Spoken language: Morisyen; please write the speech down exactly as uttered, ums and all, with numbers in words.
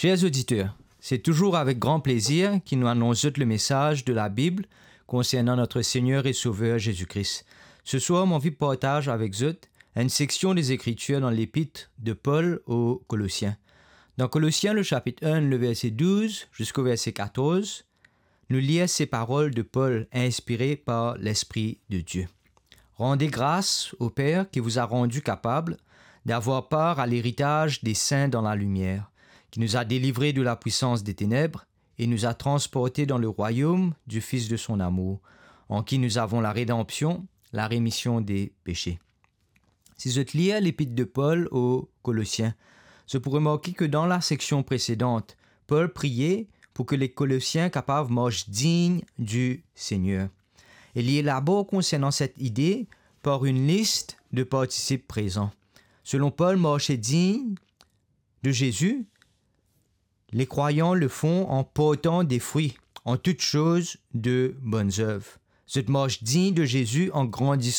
Chers auditeurs, c'est toujours avec grand plaisir que nous annonçons le message de la Bible concernant notre Seigneur et Sauveur Jésus-Christ. Ce soir, mon envie de partager avec vous une section des Écritures dans l'épître de Paul aux Colossiens. Dans Colossiens, le chapitre un, le verset douze jusqu'au verset quatorze, nous lire ces paroles de Paul inspirées par l'Esprit de Dieu. Rendez grâce au Père qui vous a rendu capable d'avoir part à l'héritage des saints dans la lumière, qui nous a délivrés de la puissance des ténèbres et nous a transportés dans le royaume du Fils de son amour, en qui nous avons la rédemption, la rémission des péchés. Si zot lir lepit de Pol o Kolosien, zot pou remarke ke dan la seksion presedan, Pol priye pou ke le Kolosien kapav mars dign di Segner. E li elabor konsernan set ide par enn lis de partisip prezan. Selon Pol, marse dign de Zezi, les croyants le font en portant des fruits, en toutes choses de bonnes œuvres. Zot mars dign de Zezi an grandis